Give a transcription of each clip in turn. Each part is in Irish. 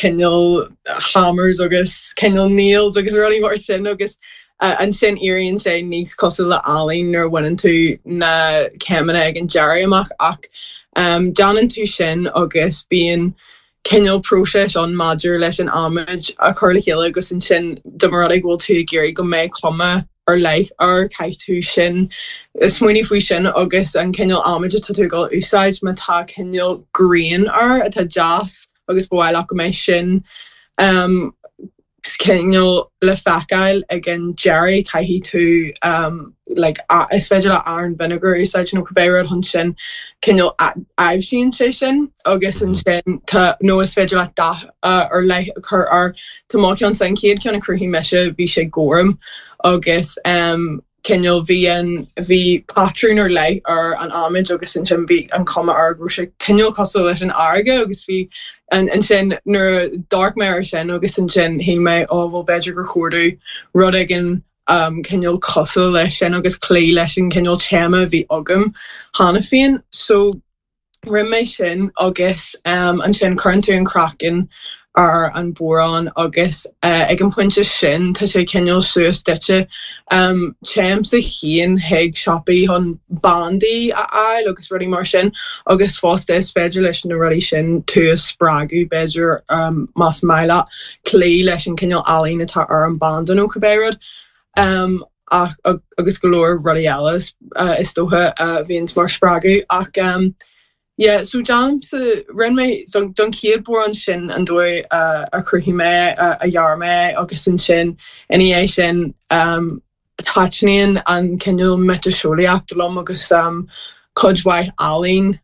cineál hammers agus cineál nails agus rudaí mar sin agus ansin éiríonn sé níos cosúil le ealaín nuair a bhaineann tú na céimeanna ag an deireadh amach ach déanann tú sin agus bíonn cineál próiseas ann maidir leis an adhmad a chur le chéile agus ansin dá mba rud é go bhfuil tú ag iarraidh go mbeidh cuma ar leith air, caithfidh tú sin, smaoineamh faoi sin agus an cineál adhmaid atá tú ag dul a úsáid, má tá cineál grain air atá deas agus ba mhaith leat go mbeidh sin cineál le feiceáil ag an deireadh, caithfidh tú like is féidir leat arán vinegar a úsáid nó cibé rud chun sin cineál aibhsíonn sé sin agus ansin tá nó is féidir leat dath ar leith a chur air. Tá mo cheannsa, an chéad cheann a chruthaigh mise bhí sé gorm agus cineál bhí an bhí patrún ar leith ar an adhmaid agus ansin bhí an cuma air go raibh sé cineál cosúil leis an fharraige agus bhí an ansin nuair a d'amharc mé air sin agus ansin shíl mé ó bhuel b'fhéidir gur chóir domh rud éigin cineál cosúil leis sin agus cloí leis an cineál téama a bhí agam cheana féin. So rinne mé sin agus ansin cuireann tú an craiceann ar an bodhrán agus ag an pointe sin tá sé cineál suas duitse. Téimse féin chuig siopaí chun bandaí a fháil agus rudaí mar sin agus fosta is féidir leis na rudaí sin tú a spreagadh b'fhéidir más maith leat cloí leis an cineál ealaín atá ar an banda nó cibé rud. Ach agus go leor rudaí eile is dócha a bhíonns mar spreagadh ach yeah so déanaimse, rinne mé don don chéad bodhrán sin an dóigh a chruthaigh mé a dhear mé agus ansin ina dhiaidh sin taitníonn an cineál miotaseolaíocht liom agus cuid mhaith ealaín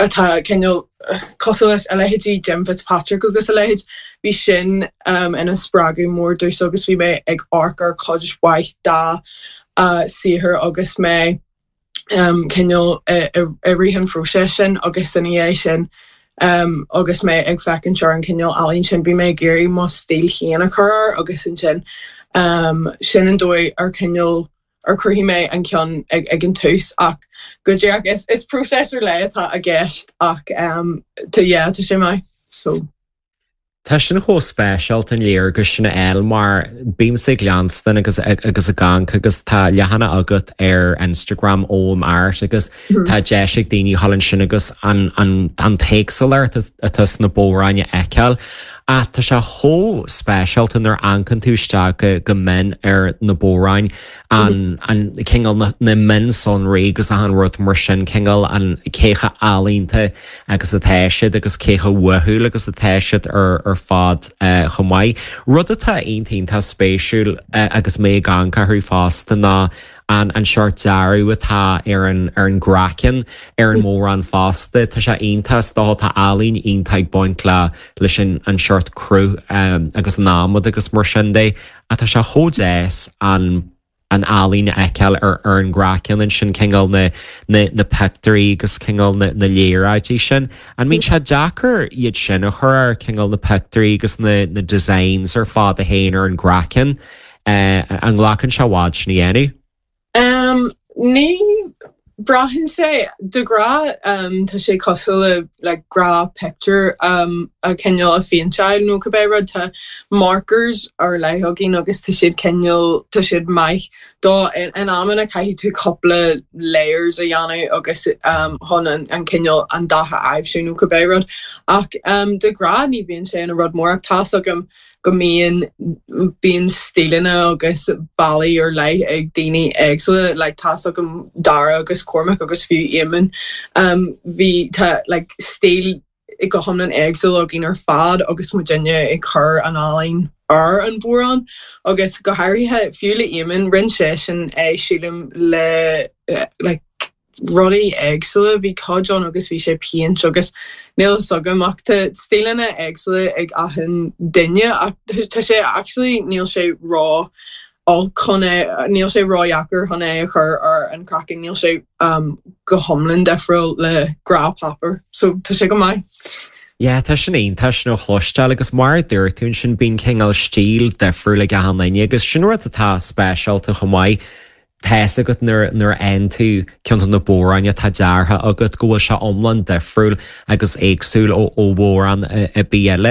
atá cineál cosúil leis a leithéidí Jim Fitzpatrick agus a leithéid. Bhí sin ina spreagadh mór domhsa agus bhí mé ag amharc ar cuid mhaith dá saothar agus mé cineál i rith an phróiseas sin agus ina dhiaidh sin agus mé ag féachaint ar an cineál ealaín sin bhí mé ag iarraidh mo stíl féin a chur air agus ansin sin an dóigh ar cineál ar chruthaigh mé an ceann ag an tús ach go díreach is is próiseas ar leith atá i gceist ach tá yeah tá sé maith so. Tá sin chomh speisialta an léargas sin a fháil mar bímse ag leanstan agus agus ag amharc agus tá leathanach agat ar Instagram Ogham Art agus tá deis ag daoine a dhul ansin agus an an an t-éagsúlacht atá sna bodhráin a fheiceáil. Ach tá sé chomh speisialta nuair a amharcann tú isteach go mion ar na bodhráin, an an cineál na na mionsonraí agus achan rud mar sin, cineál an cé chomh ealaíonta agus atá siad agus cé chomh uathúil agus atá siad ar ar fad chomh maith. Rud atá iontach iontach spéisiúil agus mé ag amharc orthu fosta ná an an seort dearadh atá ar an ar an gcraiceann ar an mbodhrán fosta. Tá sé iontach, is dócha tá ealaín iontach ag baint le leis an an seort cruth agus an adhmad agus mar sin de. Ach tá sé chomh deas an an ealaín a fheiceáil ar ar an gcraiceann ansin, cineál na na na pictiúirí agus cineál na na léaráidí sin. An mbíonn sé deacair iad sin a chur air, cineál na pictiúirí agus na na designs ar fad a théann ar an gcraiceann? An nglacann sé i bhfad sin a dhéanamh? Ní braitheann sé, de ghnáth tá sé cosúil le like gnáth-pictiúr a cineál a phéinteáil nó cibé rud. Tá markers ar leith againn agus tá siad cineál, tá siad maith do, in amanna caithfidh tú cúpla layers a dhéanamh agus chun an cineál, an dath a aibhsiú nó cibé rud. Ach de ghnáth ní bhíonn sé ina rud mór ach tá's agam go mbíonn, bíonn stíleanna agus bealaí ar leith ag daoine éagsúla, like tá's agam Dara agus Cormac agus fiú Éamonn, bhí, tá like stíl go hiomlán éagsúil againn ar fad agus muidinne ag cur an ealaín ar an bhodhrán agus go háirithe fiú le Éamonn, rinne seisean é sílim le like rudaí éagsúla, bhí cuid ann agus bhí sé péint agus níl fhios agam ach tá stíleanna éagsúla ag achan duine ach tá sé actually níl sé ró olc chun é, níl sé ródheacair chun é a chur ar an craiceann, níl sé go hiomlán difriúil le gnáthpháipéar so tá sé go maith. Yeah, tá sin iontach sin a chloisteáil agus mar a dúirt tú ansin bíonn cineál stíl difriúil ag achan duine agus sin rud atá speisialta chomh maith. Tá's agat nuair nuair a fhaigheann tú ceann de na bodhráin atá deartha agat go bhfuil sé iomlán difriúil agus éagsúil ó ó bhodhrán ar bith eile.